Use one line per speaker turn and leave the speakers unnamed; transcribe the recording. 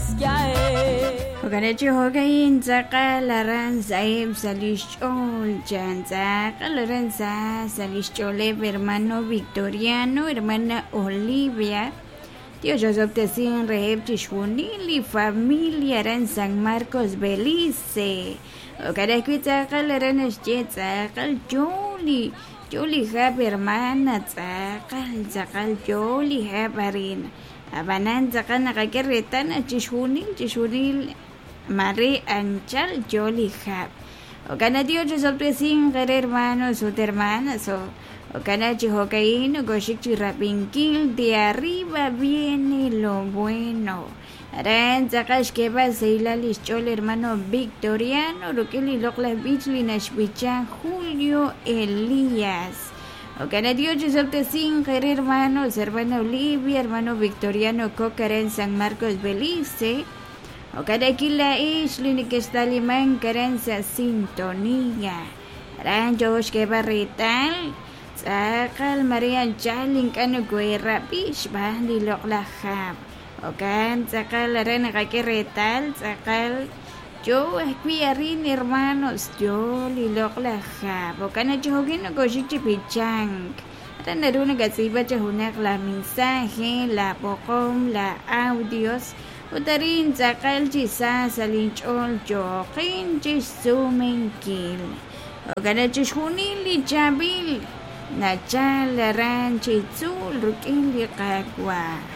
Jo'kan chi jo'ka'in tz'aqal aran sa'eb' sa' lix ch'ool chan tz'aqal aran sa' lix ch'ooleb' hermano Victoriano, hermana Olivia. Dios osob'tesin reheb' chixjunil li familia aran San Marcos, Belice. Jo'kan ajwi' tz'aqal aran naxye tz'aqal yo li hab' hermana, tz'aqal tz'aqal yo li hab' arin. Ab'anan tz'aqal naqak'e reetal naq chixjunil mare anchal yo li hab'. Jo'kan naq Dios osob'tesin qere hermanos ut hermanas. Jo'kan chi jo'ka'in nokoxik chi rab'inkil de arriba viene lo bueno. Aran tz'aqal xk'eeb'al sahilal lix ch'ool hermano Victoriano rik'in li loq'laj b'ich li naxb'icha Julio Elías. Jo'kan naq Dios osob'tesin qere hermanos, hermana Olivia, hermano Victoriano Coc aran San Marcos, Belice. Jo'kan akil laa'ix li nekextalimank aran sa' sintonía. Aran yo xk'eeb'al reetal tz'aqal mare anchal ink'a' nokoherab'i xb'aan li loq'laj hab'. Jo'kan tz'aqal aran naqak'e reetal tz'aqal yo ajwi' arin hermanos yo li loq'laj hab'. Jo'kan naq chi jo'kin nokoxik chi b'ichank. Aran naru nakatz'iib'a chi junaq la mensaje, la b'oqom, la audios. Ut arin tz'aqal chi sa sa' linch'ool yooqin chixsumenkil. Jo'kan naq chixjunil li chaab'il nachal aran chi tzuul rik'in li Qaawa'.